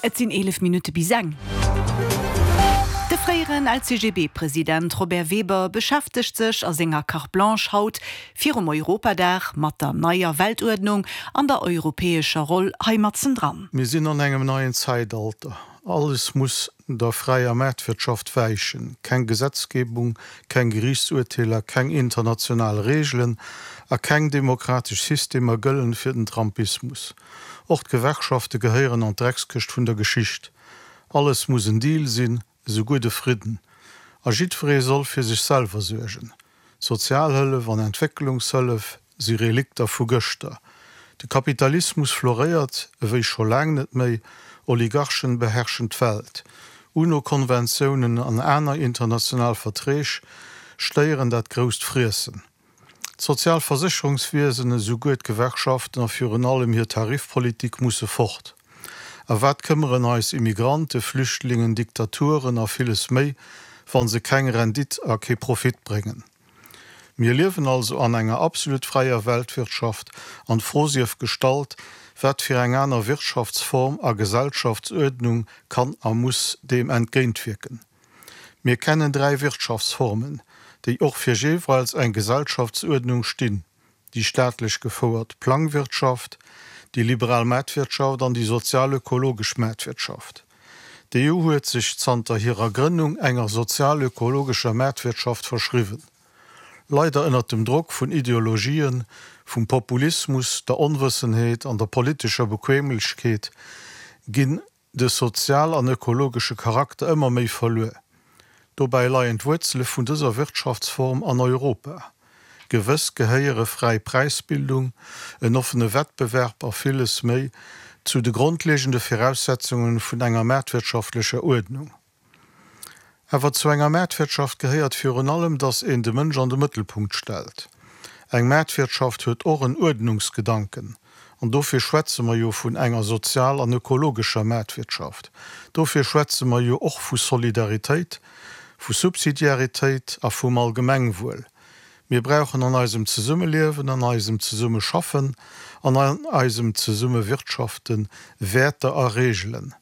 Et sinn 11 Minutte bis eng. De fréieren LCGB-President Robert Weber beschäftegt sech a senger Carte Blanche haut virum Europadag mat der neier Weltuerdnung an der europäescher Roll hei matzendran. Mir sinn an engem neien Zäitalter. Alles muss der fräier Maartwirtschaft wäichen. Keng Gesetzgebung, keng Geriichtsurteeler, keng international Reegelen a keng demokratesch Systemer gëllen fir den Trumpismus. Och d'Gewerkschafte gehéieren an d'Dreckskëscht vun der Geschicht. Alles muss en Deal sinn, esouguer de Fridden. A jiddweree soll fir sech selwer suergen. Sozialhëllef an Entwécklungshëllef si Relikter vu gëschter. De Kapitalismus floréiert ewéi scho laang net méi, Oligarchen beherrschen d'Welt, UNO-Konventiounen an aner international Verträg stéieren dat grousst Friessen. D'Sozialversécherungswiesen, esouguer d'Gewerkschaften a virun allem hir Tarifpolitik musse fort. A wat këmmeren eis Immigranten, Flüchtlingen, Diktaturen a villes méi, wa se keng Rendite a kee Profit bréngen? Mir liewen also an enger absolut fräier Weltwirtschaft an d'Fro sief gestallt, wat fir eng aner Wirtschaftsform a Gesellschaftsuerdnung kann a muss deem entgéintwierken? Mir kennen 3 Wirtschaftsformen, déi och fir jeeweils eng Gesellschaftsuerdnung stinn, déi staatlech gefouert Plangwirtschaft, déi liberal Maartwirtschaft an déi sozial-ökologesch Maartwirtschaft. D'EU huet sech zanter hirer Grënnung enger sozial-ökologescher Maartwirtschaft verschriwwen. Leider ënnert dem Drock vun Ideologien, vum Populismus, der Onwëssenheet an der politescher Bequemlechkeet ginn de sozial an ökologesche Charakter ëmmer méi verluer. Dobäi leien d'Wuerzele vun dëser Wirtschaftsform an Europa. Gewëss gehéiere fräi Präisbildung, en offene Wettbewerb a villes méi zu de grondlegende Viraussetzungen vun enger maartwirtschaftlecher Uerdnung. Awer zu enger Maartwirtschaft gehéiert virun allem, datt een de Mënsch an de Mëttelpunkt stellt. Eng Maartwirtschaft huet och en Uerdnungsgedanken. An dofir schwätze mer jo vun enger sozial an ökologescher Maartwirtschaft. Dofir schwätze mer jo och vu Solidaritéit, vu Subsidiaritéit a vum Allgemengwuel. Mir brauchen an eisem Zesummeliewen, an eisem Zesummeschaffen an an eisem Zesummewirtschafte Wäerter a Reegelen.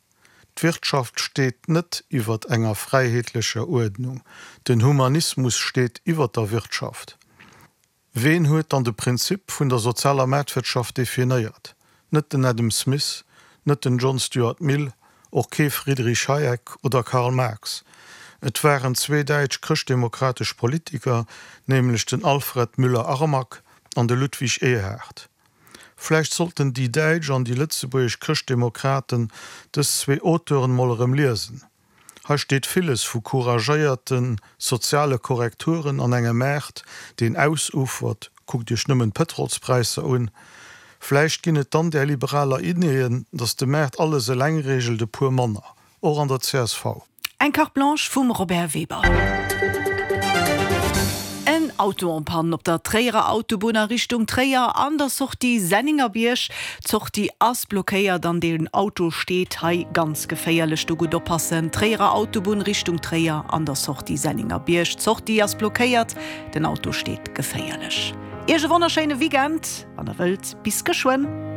D'Wirtschaft steet net iwwert enger fräiheetlecher Uerdnung. Den Humanismus steet iwwert der Wirtschaft. Ween huet dann de Prinzip vun der sozialer Maartwirtschaft definéiert? Net den Adam Smith, net den John Stuart Mill, och kee Friedrich Hayek oder Karl Marx. Et waren zwee däitsch chrëschtdemokratesch Politiker, nämlech den Alfred Müller-Armack an de Ludwig Erhard. Vläicht sollten déi däitsch an déi lëtzebuergesch Chrëschtdemokraten dës zwee Auteuren mol erëm liesen. Hei steet villes vu couragéierte soziale Korrekturen an engem Maart, deen ausufert, kuckt iech nëmmen d'Pëtrolspräisser un. Vläicht ginn et dann där liberaler Ideeën, datt de Maart alles eleng reegelt, e puer manner, och an der csv. Eng Carte Blanche vum Robert Weber. En Auto en panne op der Tréierer Autobunn a Richtung Tréier an der Sortie Senningerbierg. D'Sortie ass blockéiert an den Auto steet hei ganz geféierlech. Do gutt oppassen. Tréierer Autobunn Richtung Tréier an der Sortie Senningerbierg. D'Sortie ass blockéiert, den Auto steet geféierlech. Iech e wonnerschéine Weekend, wann der wëllt. Bis geschwënn.